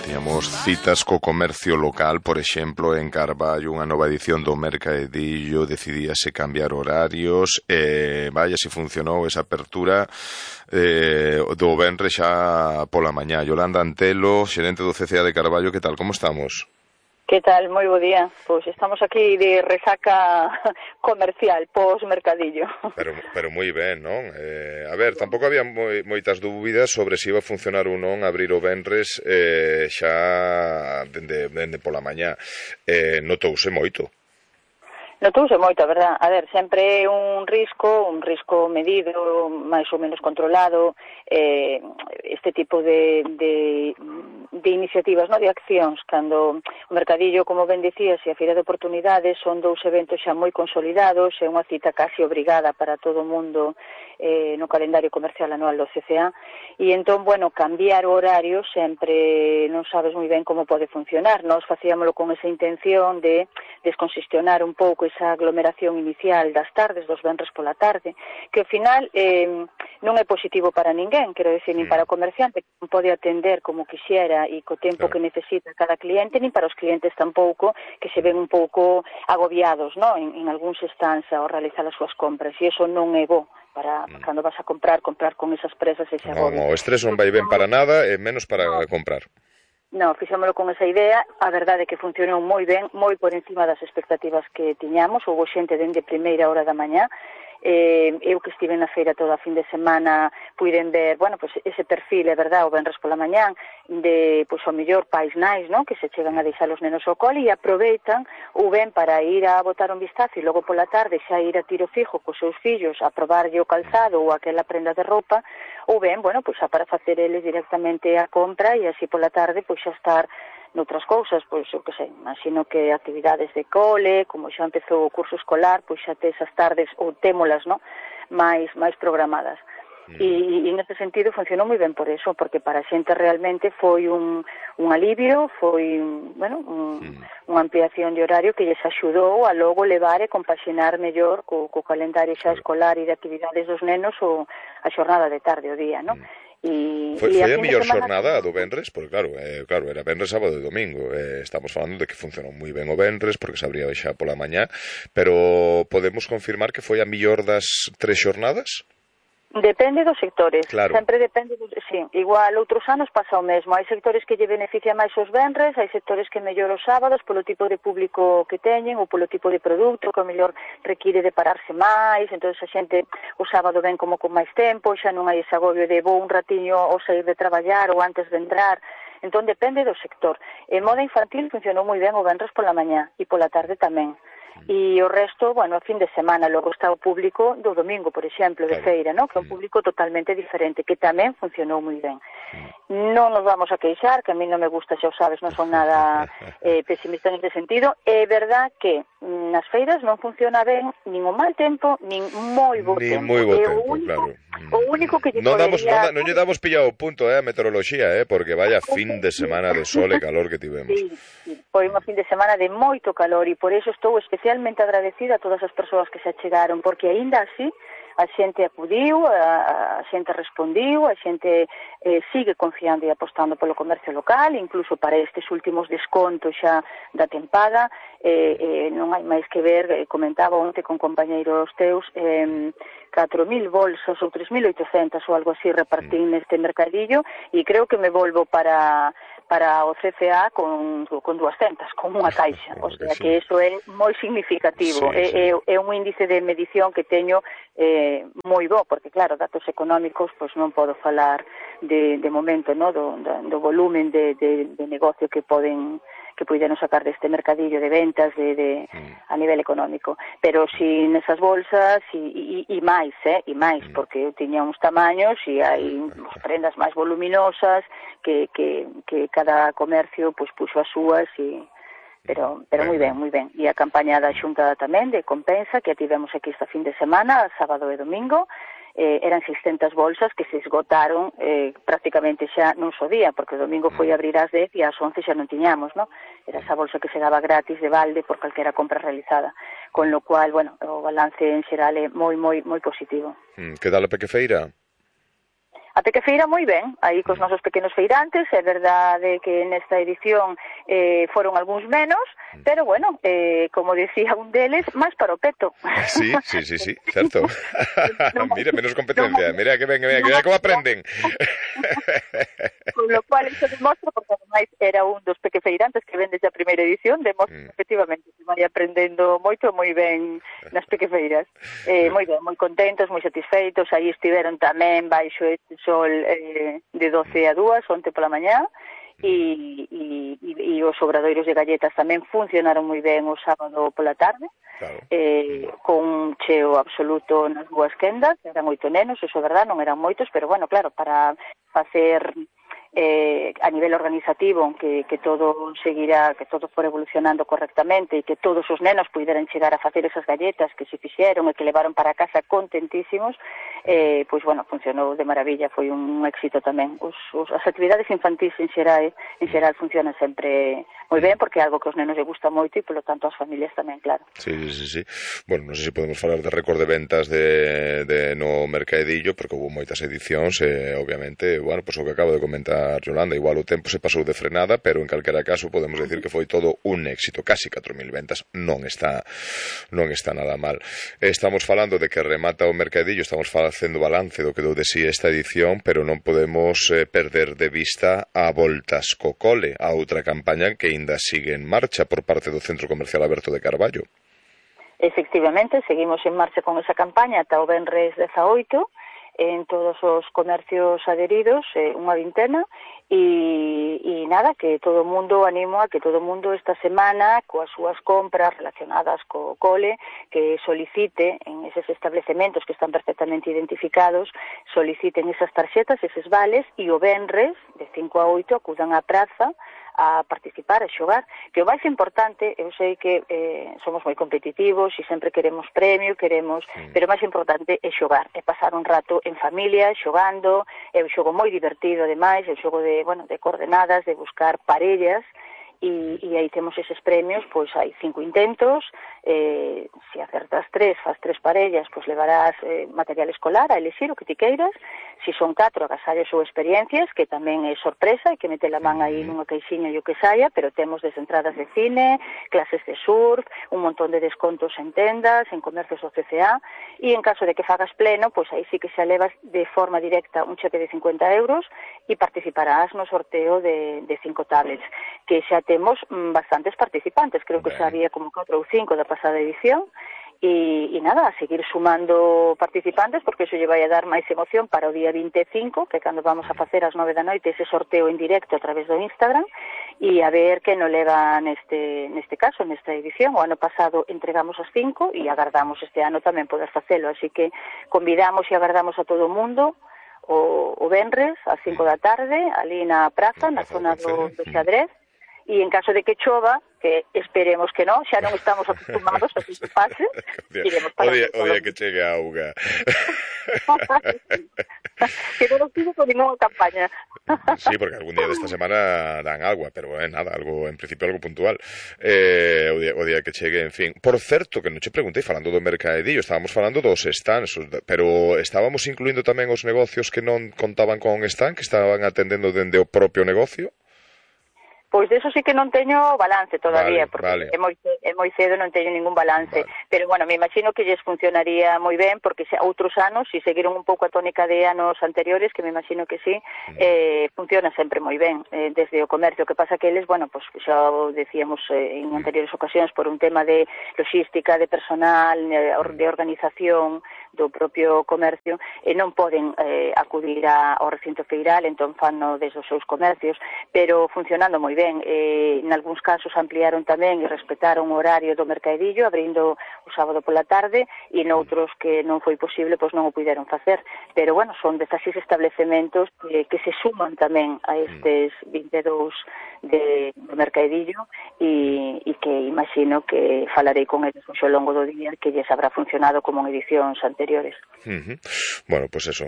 Tiñamos citas co comercio local, por exemplo, en Carballo, unha nova edición do Mercadillo, decidíase cambiar horarios, vaya se funcionou esa apertura do venres xa pola mañá. Yolanda Antelo, xerente do CCA de Carballo, que tal, como estamos? Que tal? Moi bo día. Pois estamos aquí de resaca comercial, pos-mercadillo. Pero moi ben, non? A ver, tampouco había moitas dúbidas sobre se iba a funcionar ou non abrir o venres xa dende pola mañá. Notouse moito. Notouse moito, a verdad. A ver, sempre é un risco medido, máis ou menos controlado, este tipo de iniciativas, no, de accións, cando o Mercadillo, como ben dicías, e a Feira de Oportunidades son dous eventos xa moi consolidados, é unha cita casi obrigada para todo o mundo no calendario comercial anual do CCA, e entón, bueno, cambiar o horario sempre non sabes moi ben como pode funcionar. Nós facíamolo con esa intención de descongestionar un pouco esa aglomeración inicial das tardes, dos venres pola tarde, que ao final non é positivo para ninguén, quero decir, nin para o comerciante, que non pode atender como quixera e co tempo que necesita cada cliente, nin para os clientes tampouco, que se ven un pouco agobiados, no? en algúns stands ao realizar as súas compras, e iso non é bo para cando vas a comprar con esas presas e ese agobio. Non, o estrés non vai ben para nada e menos para comprar. No, fixámoslo con esa idea, a verdade é que funcionou moi ben, moi por encima das expectativas que tiñamos, houve xente dende primeira hora da mañá, eu que estive na feira toda a fin de semana puiden ver, bueno, pues ese perfil, é verdad, o venres pola mañán de, pues o mellor pais nais, non? Que se chegan a deixar os nenos ao cole e aproveitan ou ben para ir a botar un vistazo e logo pola tarde xa ir a tiro fijo cos seus fillos a probarlle o calzado ou aquela prenda de roupa, ou ben, bueno, pues xa para facer eles directamente a compra e así pola tarde pues xa estar noutras cousas, pois, eu que sei, imagino que actividades de cole, como xa empezou o curso escolar, pois xa te esas tardes, ou témolas, no? máis programadas. E neste sentido funcionou moi ben por eso, porque para a xente realmente foi un alivio, foi, bueno, unha ampliación de horario que lles axudou a logo levar e compaxinar mellor co calendario xa escolar e de actividades dos nenos ou a xornada de tarde, o día, non? Foi a mellor xornada do venres, porque claro, era venres, sábado e domingo. Estamos falando de que funcionou moi ben o venres, porque se abría xa pola mañá, pero podemos confirmar que foi a mellor das 3 xornadas? Depende dos sectores, claro. Sempre depende, sí, igual outros anos pasa o mesmo, hai sectores que lle beneficia máis os venres, hai sectores que mellor os sábados polo tipo de público que teñen ou polo tipo de produto que o mellor require de pararse máis, entón a xente o sábado ven como con máis tempo, xa non hai ese agobio de vou un ratiño ao sair de traballar ou antes de entrar, entón depende do sector. En moda infantil funcionou moi ben o venres pola mañá e pola tarde tamén. E o resto, bueno, a fin de semana, logo está o público do domingo, por exemplo, de feira, ¿no? Que é un público totalmente diferente, que tamén funcionou moi ben. Non nos vamos a queixar, que a mí non me gusta, xa o sabes, non son nada pesimista neste sentido. É verdad que nas feiras non funciona ben nin o mal tempo, nin moi bo tempo. Nin moi bo tempo, claro. O único que lle podería... Non lle damos pillado o punto, a meteoroloxía, porque vaya fin de semana de sol e calor que tivemos. Sí. Foi unha fin de semana de moito calor e por iso estou especialmente agradecida a todas as persoas que se achegaron, porque aínda así a xente acudiu, a xente respondiu, a xente sigue confiando e apostando polo comercio local, incluso para estes últimos descontos xa da tempada, non hai máis que ver, comentaba onte con compañeiros teus, 4.000 bolsas ou 3.800 ou algo así repartín neste mercadillo e creo que me volvo para o CCA con 200, con unha caixa, o sea que iso é moi significativo, é un índice de medición que teño moi bo, porque claro, datos económicos pois non podo falar de momento, no, do volumen de negocio que puideron sacar deste mercadillo de ventas a nivel económico, pero si nesas bolsas e máis, porque eu tiña uns tamaños e hai prendas máis voluminosas que cada comercio pois puxo as súas pero moi ben, e a campaña da Xunta tamén de compensa que a tivemos aquí esta fin de semana, sábado e domingo, eran 600 bolsas que se esgotaron prácticamente xa nun só día, porque o domingo foi abrir ás 10 e ás 11 xa non tiñamos, no? Era esa bolsa que se daba gratis de balde por calquera compra realizada, con lo cual, bueno, o balance en xeral é moi positivo. Que tal a pequefeira? A Pequefeira moi ben, aí cos nosos pequenos feirantes, é verdade que nesta edición foron algúns menos, pero bueno, como decía un deles, máis para o peto. Sí, certo. Mira, menos competencia, mira que ben, mira como aprenden. Con lo cual, iso demostra, porque ademais era un dos pequefeirantes que ven desde a primeira edición, demostra efectivamente que vai aprendendo moito, moi ben nas pequefeiras. Moi ben, moi contentos, moi satisfeitos, aí estiveron tamén baixo este sol de 12 a 2, onte pola mañá, e os obradoiros de galletas tamén funcionaron moi ben o sábado pola tarde, claro. Con un cheo absoluto nas dúas quendas, eran 8 nenos, iso é verdad, non eran moitos, pero bueno, claro, para facer a nivel organizativo que todo seguirá, que todo for evolucionando correctamente e que todos os nenos puderan chegar a facer esas galletas que se fixeron e que levaron para casa contentísimos, pois bueno, funcionou de maravilla, foi un éxito tamén. As actividades infantís en xeral funcionan sempre moi ben, porque é algo que os nenos lle gusta moito e, polo tanto, as familias tamén, claro. Sí. Bueno, non sei se podemos falar de récord de ventas de no mercadillo, porque houve moitas edicións e, obviamente, bueno, pois o que acabo de comentar Yolanda, igual o tempo se pasou de frenada, pero en calquera caso podemos decir que foi todo un éxito, casi 4.000 ventas, non está nada mal. Estamos falando de que remata o mercadillo, estamos facendo balance do que dou de si esta edición, pero non podemos perder de vista a Voltas co Cole, a outra campaña que aínda sigue en marcha por parte do Centro Comercial Aberto de Carballo. Efectivamente, seguimos en marcha con esa campaña ata o venres 18, en todos os comercios adheridos, unha vintena, e nada, que todo o mundo animo a que todo o mundo esta semana, coas súas compras relacionadas co cole, que solicite en eses establecementos que están perfectamente identificados, soliciten esas tarxetas, eses vales, e o venres, de 5 a 8, acudan á praza a participar, a xogar, que o máis importante, eu sei que somos moi competitivos e sempre queremos premio, pero o máis importante é xogar, é pasar un rato en familia, xogando, é un xogo moi divertido, ademais, é un xogo de coordenadas, de buscar parellas, e aí temos eses premios, pois hai 5 intentos, se acertas 3, faz 3 parellas, pois levarás material escolar a elixir o que ti queiras, se son 4 agasallos ou experiencias, que tamén é sorpresa, e que mete a man aí nunha caixinha e o que saia, pero temos desde entradas de cine, clases de surf, un montón de descontos en tendas, en comercios do CCA, e en caso de que fagas pleno, pois aí sí que xa levas de forma directa un cheque de 50 euros e participarás no sorteo de 5 tablets, que xa temos bastantes participantes, creo que xa había como 4 ou 5 da pasada edición, e nada, a seguir sumando participantes, porque iso lle vai a dar máis emoción para o día 25, que é cando vamos a facer ás 9 da noite ese sorteo en directo a través do Instagram, e a ver que non leva neste caso, nesta edición. O ano pasado entregamos as 5 e agardamos este ano tamén poder facelo, así que convidamos e agardamos a todo o mundo o venres ás 5 da tarde, ali na praza, na zona do Xadrez, e en caso de que chova, que esperemos que non, xa non estamos acostumados a que se pase, iremos para o día que chegue a auga. Que non sigo con ninguna campaña. Sí, porque algún día desta semana dan agua, pero nada, algo, en principio algo puntual. O día que chegue, en fin. Por certo, que non che preguntei, falando do mercadillo, estábamos falando dos stands, pero estábamos incluindo tamén os negocios que non contaban con stand, que estaban atendendo dende o propio negocio? Pois deso sí que non teño balance todavía, porque é moi cedo, non teño ningún balance, pero bueno, me imagino que lles funcionaría moi ben, porque outros anos, se seguiron un pouco a tónica de anos anteriores, que me imagino que sí, funciona sempre moi ben, desde o comercio. O que pasa que eles, bueno, pues xa o decíamos en anteriores ocasións, por un tema de logística, de personal, de organización do propio comercio, non poden acudir ao recinto feiral, entón fanno desde os seus comercios, pero funcionando moi ben. En algúns casos ampliaron tamén e respetaron o horario do mercadillo, abrindo o sábado pola tarde, e noutros que non foi posible, pois non o puderon facer. Pero, bueno, son 16 establecementos que se suman tamén a estes 22 do mercadillo, e que imagino que falarei con eles ao longo do día, que lles habrá funcionado como en edicións anteriores. Bueno, pois eso,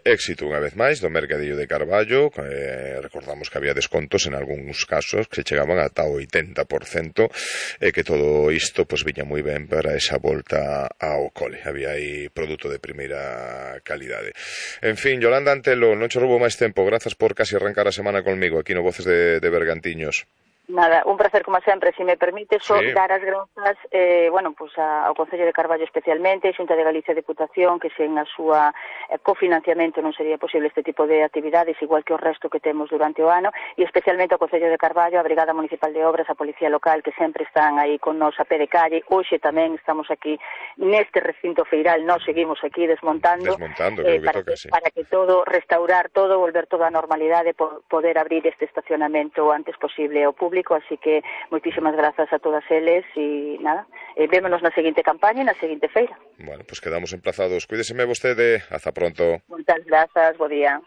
éxito unha vez máis do mercadillo de Carballo. Recordamos que había descontos en algúns casos que chegaban ata o 80%, e que todo isto pois viña moi ben para esa volta ao cole. Había aí produto de primeira calidade. En fin, Yolanda Antelo, non che roubo máis tempo, grazas por casi arrancar a semana conmigo aquí no Voces de Bergantiños. Nada, un placer como sempre, se me permite só sí. dar as grazas ao Concello de Carballo especialmente, a Xunta de Galicia Deputación, que sen a súa cofinanciamento non sería posible este tipo de actividades, igual que o resto que temos durante o ano, e especialmente ao Concello de Carballo, a Brigada Municipal de Obras, a Policía Local, que sempre están aí con nos a pé de calle. Hoxe tamén estamos aquí neste recinto feiral, nós seguimos aquí desmontando para que todo, restaurar todo, volver toda a normalidade, poder abrir este estacionamento o antes posible ao público. Así que moitísimas grazas a todas eles e nada, vémonos na seguinte campaña e na seguinte feira. Bueno, pues quedamos emplazados. Cuídeseme vostede, hasta pronto. Moitas grazas, bo día.